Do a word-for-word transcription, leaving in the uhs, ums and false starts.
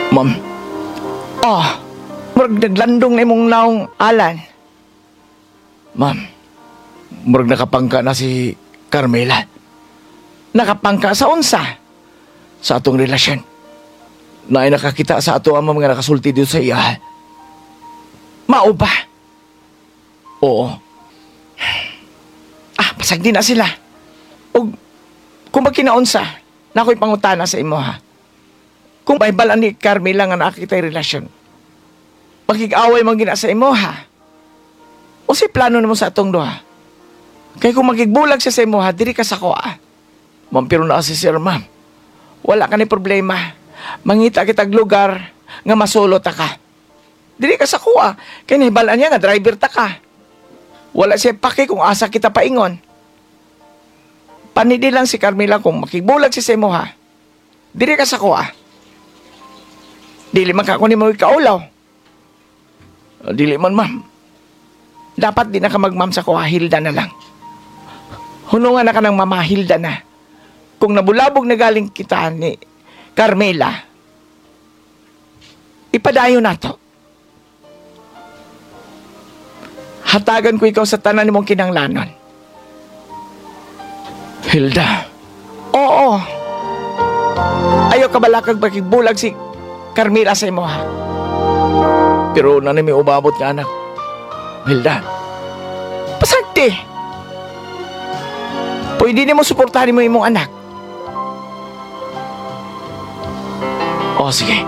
Ma'am. Ah, murag naglandong na imong naong, Alan. Ma'am, murag nakapangka na si Carmela. Nakapangka sa unsa? Sa atong relasyon. Naay nakakita sa ato ang mga nakasulti dito sa iya. Mao ba? Oo. Ah, pasag di na sila. Og kung magkinaunsa, na ako'y pangutana sa imo ha. Kung mahibalaan ni Carmela nga naa kita'y relasyon, makig-away man gina sa imo ha. O si plano nimo sa atong duha? Kay kung makigbulag siya sa imo ha, diri ka sa akoa. Ma'am, pero naa si sir, ma'am. Wala ka ni problema. Mangita kitag lugar nga masolo ta ka. Diri ka sa akoa. Kay nahibalaan niya nga driver ta ka. Wala siya pake kung asa kita paingon. Panidi lang si Carmela kung makigbulag siya sa imo ha. Diri ka sa akoa. Dili man ka ko nimo ikaulaw. Ah, dili man, ma'am. Dapat di na ka magma'am sa akoa, Hilda na lang. Hunungan na ka ng mama, Hilda na. Kung nabulabog na galing kita ni Carmela, ipadayon na to. Hatagan ko ikaw sa tanan nimong kinanglanon. Hilda. Oo. Ayaw ka balakag makigbulag si Carmela sa imo ha. Pero nanay may umabot nga anak. Hilda. Pasagti. Pwede nimo suportahan mo imong anak. O sige.